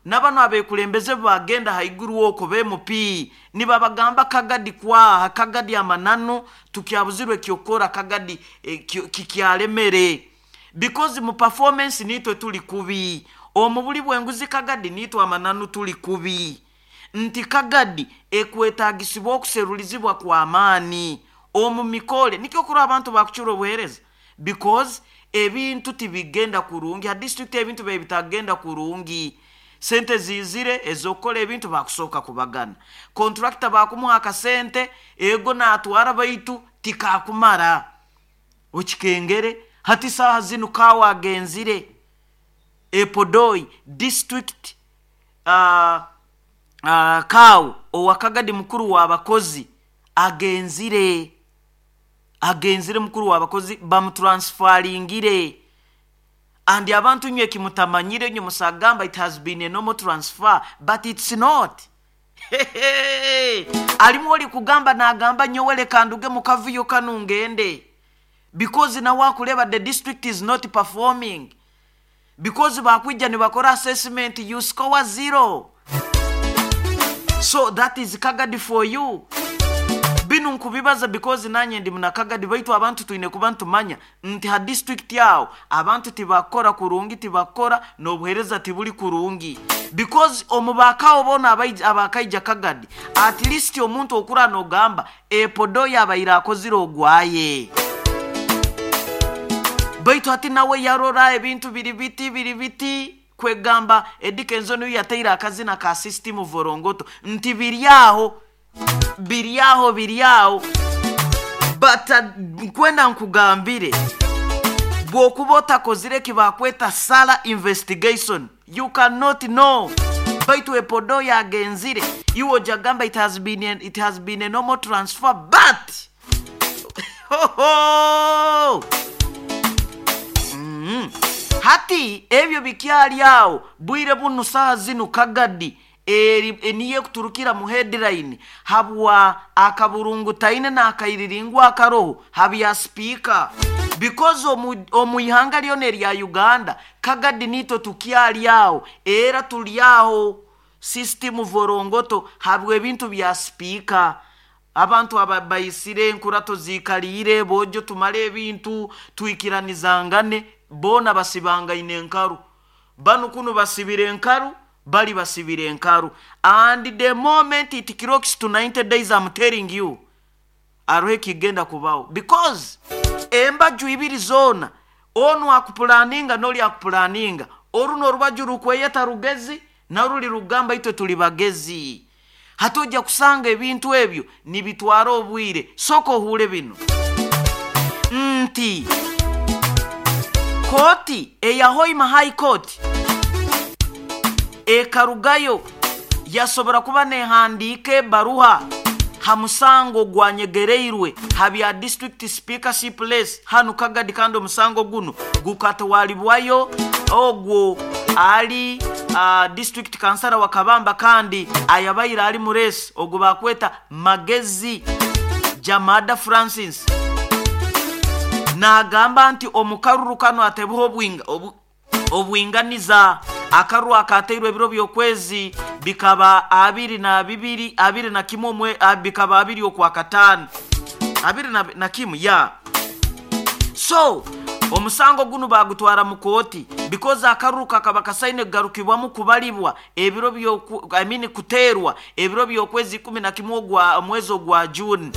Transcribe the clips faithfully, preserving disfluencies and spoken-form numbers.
Nabano abekulembeze bagenda haiguru oko be M P nibabagamba Kagadi kwaha Kagadi amananu tukyabuzirwe kyokora Kagadi eh, kikyalemere because mu performance nitwe tuli kubi, omu buli bwenguzi Kagadi nitwe amananu tuli kubi, nti Kagadi ekwetagisibwa okuserulizibwa kw'amaani omu mikole. Nikyo kuri abantu bakucura obuheereza because ebintu tibigenda kurungi ha district, ebintu bibe bitagenda kurungi. Sente zizire ez'okukola ebintu, bakusooka kubagana contractor, bakumuha akasente ego natwara, baitu tikakumara okikengere. Hati saaha zinu kawa agenzire Epodoi district, uh, uh, kawo owakagadi mukuru w'abakozi agenzire agenzire mukuru w'abakozi bamutransferingire. And abantu nywe kimutamanyire, nywe musagamba it has been a normal transfer, but it's not. Alimu oli kugamba nagamba nyowele kanduge mukavuyo kanu ngende because nawe akuleba the district is not performing because bakwija nibakora assessment, you score zero. So that is Kagadi for you. Binu nkubibaza because nanye ndi munakagadi, baitu abantu twine kuba ntumanya nti ha district yawo abantu tibakora kurungi, tibakora n'obuhereza tibuli kurungi because omubakawo bona abakaija Kagadi, at least omuntu okura nogamba epodo yabaire akozire ogwaye, baitu hati nawe yarora ebintu biri biti biri biti. Kwegamba Eddy Kenzo niyo yateire akazina ka system vorongoto, nti biri aho, biri aho, biri aho. But uh, nkwenda nkugambire, bw'okuba otakozire kibakweta thorough investigation, you cannot know. Baitu epodo yagenzire, iwe ojagamba it has been a, it has been a normal transfer, but ho, ho! Mm. Hati ebyo bikyali awo. Bwire bunu saha zinu Kagadi eri niye kuturukira mu headline habwa akaburungu taine n'akairiringwa akaroho habya speaker because omu, omu ihanga lyona erya Uganda, Kagadi nito tukyali awo, era tuli aho system vorongoto habwa ebintu bya speaker. Abantu aba bayisire enkurato zikaliire bojo tumale ebintu twikiranizangane, bona basibangaine enkaru, banu kunu basibire enkaru, bali basibire enkaru. And the moment it clocks to ninety days, I'm telling you, aroho ekigenda kubaho because embaju ibiri zona, onu akupulaninga noli akupulaninga, oruno orubaju rukweyeta rugezi naruli rugamba itwe tuli bagezi. Hati ojja kusanga ebintu ebyo nibitwara obwire. Sooka ohuule bino nti kooti eya Hoima High Court ekarugayo yasobora kuba nehandiika ebaruha ha musango gwanyegereirwe ha bya district speakership race hanu Kagadi. Kandi omusango guno gukatwalibwayo ogwo ali uh, district kansara wa Kabamba kandi ayabaire ali mu race, ogwo bakweta Magezi Jamada Francis, nagamba nti omukaruru kano atebuho obwinga obu, obwinganiza. Akaruru akateirwe ebiro by'okwezi bikaba abiri na bibiri, abiri na kimwe omwe, bikaba abiri okwa kataano, abiri na, na kimu ya. So omusango guno bagutwara mu kooti because akaruru kakaba kasaine kugarukibwamu kubalibwa ebiro byoku, I mean kuterwa ebiro by'okwezi kumi na kimwe ogwa omwezi ogwa June.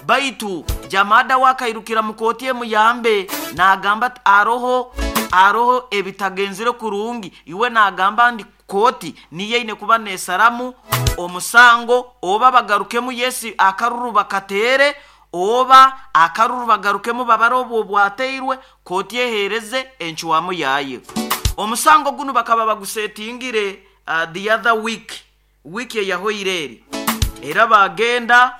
Baitu Jamada wakairukira mu kooti emuyambe, nagamba aroho aroho ebitagenzire kurungi. Iwe nagamba ndi kooti niyo kuba nesaramu omusango, oba bagarukemu yesi akaruru bakatere, oba akaruru bagarukemu babare obwo bwateirwe, kooti ehereze enchwamu yayo. Omusango guno bakaba bagusetingire uh, the other week, wiiki eyahoire eri, era bagenda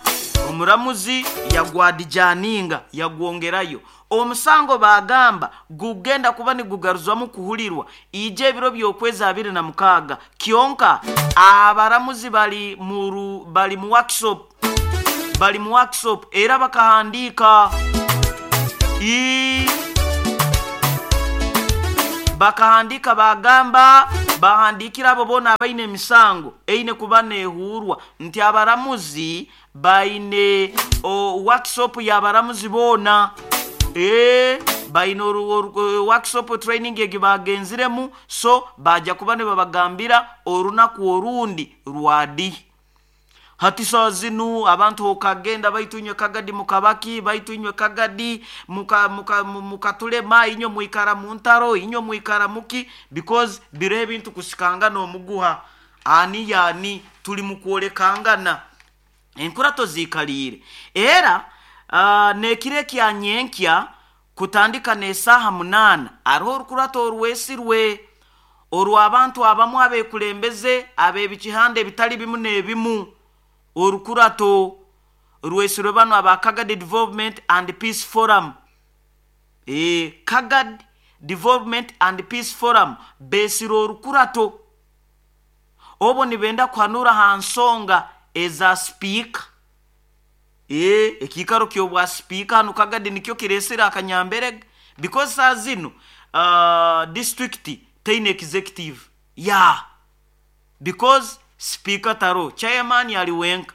omuramuzi yagwadijaninga, yagwongerayo. Omusango bagamba gugenda kuba nigugaruzwamu kuhulirwa ije ebiro by'okwezi abiri na mukaaga. Kyonka abaramuzi bali muru bali mu workshop, bali mu workshop, era bakahandiika i Bakahandika bagamba, bahandikira abo boona abaine emisango eine kuba nehuurwa nti abaramuzi baine workshop y'abaramuzi boona. E baine workshop training egi bagenziremu, so bajja kuba nibabagambira orunaku orundi rwadi. Hati saa zinu abantu okagenda baitu inywe Kagadi mukabaki, baitu inywe Kagadi mukatulema, inywe mwikara muntaro, inywe mwikara muki, because biro ebintu kusikangana omuguha ani yani tuli mukwolekangana enkurato ziikaliire. Era uh, nekiro ekya nyenkya kutandika n'esaaha munaana hariho orukurato orwesirwe orw'abantu abamu abekulembeze ab'ebikihanda ebitali bimu n'ebimu. Orukurato rwesirwe bano aba Kagadi Development and Peace Forum. E, Kagadi Development and Peace Forum besire orukurato obo nibenda kuhanura ha nsonga eza speaker. E, ekiikaro ky'obwa speaker hanu Kagadi nikyo kiresire akanyamberege, because saa zinu uh, district teine executive ya yeah. Because speaker taro, chairman ali wenka.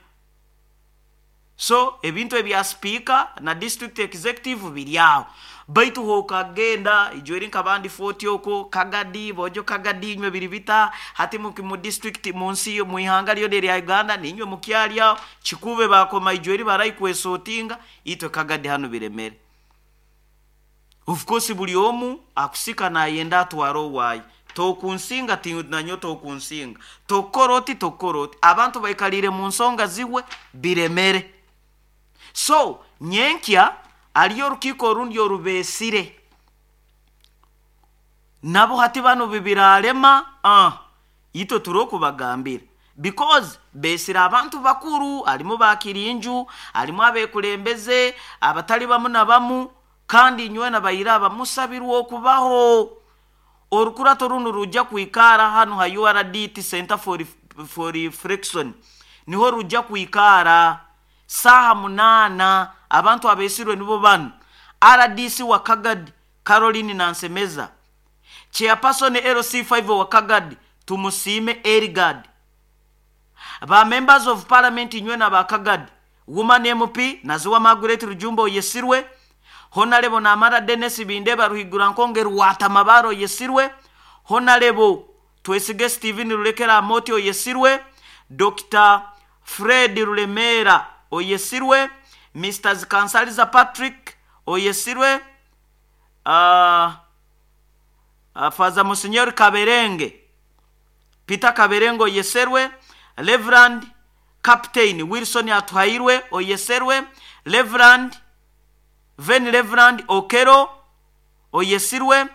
So ebintu ebya speaker na district executive biri aho. Baitu hokagenda ijweri nkabandi forty oko Kagadi bojo Kagadi inywe biri bita hati mu, mu district mu nsi mu ihanga lyo lya Uganda ninywe mukyalya kikube bakoma ijweri barai kwesotinga itwe Kagadi hano biremere. Of course buli omu akusika nayenda atwaro wayi tokunsinga tinanyo tokunsinga tokoroti tokoroti abantu baikalire mu nsonga ziwe biremere. So nyenkya aliyo rukiko orundi orubesire nabo hati bano bibiralema ah ito turokubagambira, because besire abantu bakuru alimu bakirinju alimu abekulembeze abatali bamu na bamu, kandi nywe na bayira abamusabirwa okubaho. Orukurato runo rujja kuikara hano ha U R D T Center for, for Reflection, niho rujja kuikara saha munana. Abantu abesirwe nibo bano: R D C wa Kagadi Caroline Nansemeza, chairperson L C five wa Kagadi Tumusime Erigad, ba members of parliament nywe na ba Kagadi, woman M P Naziwa Margaret Rujumbo yesirwe, Honorable Namara Dennis Bindeba Ruhigura Nkonge Rwatamabaro yesirwe, Honorable Twesige Steven Rulekera Amoti oyesirwe, Doctor Fred Rulemera oyesirwe, Mister Kansaliza Patrick oyesirwe, uh, uh, Father Monsignor Kaberenge Peter Kaberenge oyeserwe, Reverend Captain Wilson Atuhairwe oyeserwe, Reverend Ven Reverend Okero oyesirwe,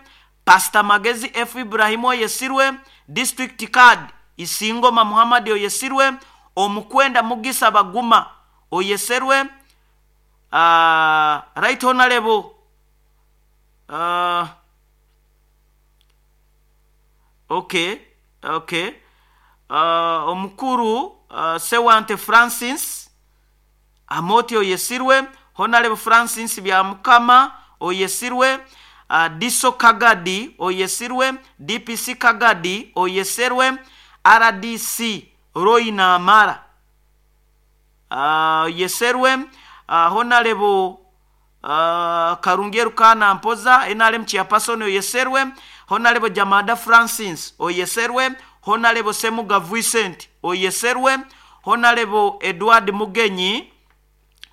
Pastor Magezi F Ibrahim oyesirwe, District Card Isingoma Muhammad oyesirwe, Omukwenda Mugisa Baguma oyeserwe, uh, Right Honorable uh, okay okay uh, Omukuru uh, Sewante Francis Amoti oyesirwe, Honorable Francis Byamukama oyesirwe, uh, Diso Kagadi oyesirwe, D P C Kagadi oyeserwe, R D C Roy Namara uh, yeserwe, uh, Honorable uh, Karungeru Kana Mpoza N R M chairperson oyeserwe, Honorable Jamada Francis oyeserwe, Honorable Semuga Vincent oyeserwe, Honorable Edward Mugenyi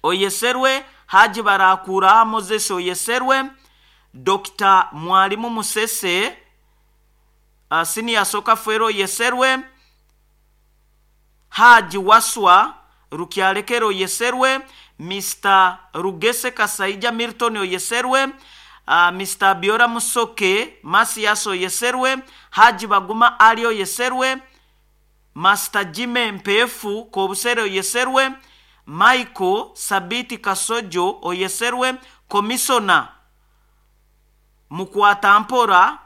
oyeserwe, Haji Barakura Moses oyeserwe, Doctor Mwalimu Musese uh, Senior Soka Fwero oyeserwe, Haji Waswa Rukyalekero oyeserwe, Mister Rugese Kasaija Milton oyeserwe, uh, Mister Biora Musoke Masias oyeserwe, Haji Baguma Ali oyeserwe, Master Jime Mpefu Kobusere oyeserwe, Michael Sabiti Kasojo oyeserwe, Komisona Mukwatampora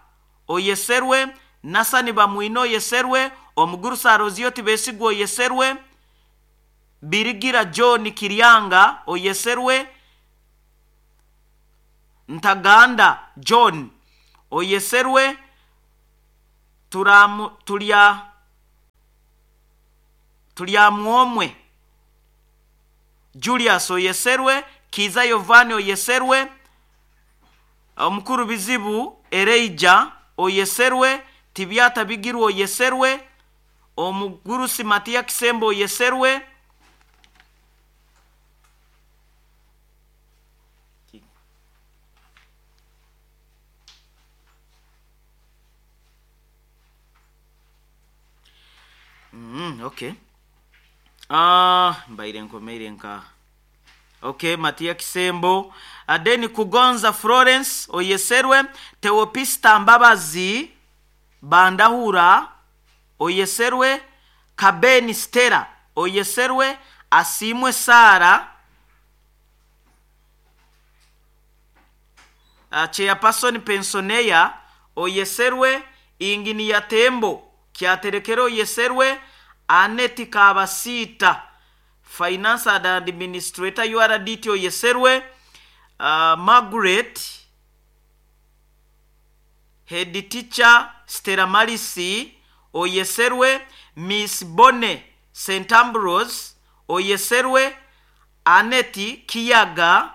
oyeserwe, Nasani Bamwino oyeserwe, Omugurusa Rozio Tibesigwa oyeserwe, Birigira John Kiryanga oyeserwe, Ntaganda John oyeserwe, turamu tulya tulyamwomwe Julius oyeserwe, Kiza Yovani oyeserwe, omukuru bizibu Ereija oyeserwe, Tibyata Bigirwa oyeserwe, omugurusi Matiya Kisembo oyeserwe, Mm, okay. Ah, mbaire nkomeire nka okay Matiya Kisembo, Adeni Kugonza Florence oyeserwe, Teopista Mbabazi Bandahura oyeserwe, Kabeni Stella oyeserwe, Asimwe Sara uh, Chairperson Pensioneya oyeserwe, Inginiya Tembo Kyaterekero oyeserwe, Aneti Kabasita Finance and Administrator U R D T oyeserwe, uh, Margaret Head Teacher Stella Marisi oyeserwe, Miss Bonne Saint Ambrose oyeserwe, Aneti Kiyaga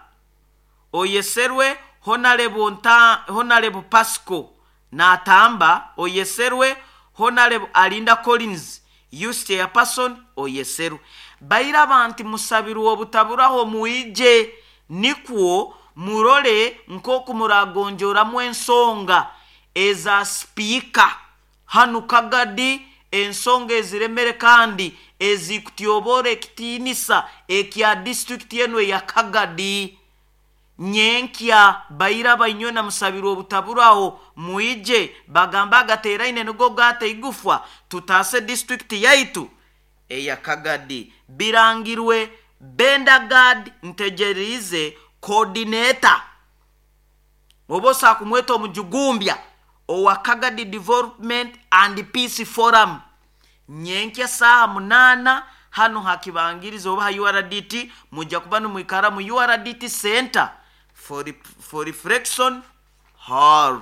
oyeserwe, Honorable Nta, Honorable Pasco Natamba oyeserwe, Honorable Alinda Collins Youth Chairperson oyeserwe. Baira banti musabirwa obutaburaho muije nikwo murole nkoku muragonjoramu ensonga eza speaker hanu Kagadi, ensonga eziremere kandi ezikutyobora ekitinisa ekya district yenu ya Kagadi. Nyenkya baira bainywe na musabirwa obutaburaho muije bagamba agateraine nigo gata igufwa tutase district yaitu eya Kagadi. Birangirwe Bendagard Ntegerize coordinator obosa kumweta omujugumbya owa Kagadi Development and Peace Forum. Nyenkya saha munana hano hakibangiriza oba U R D T, mujja kuba nimwikara mu U R D T Center for, for Reflection Hall.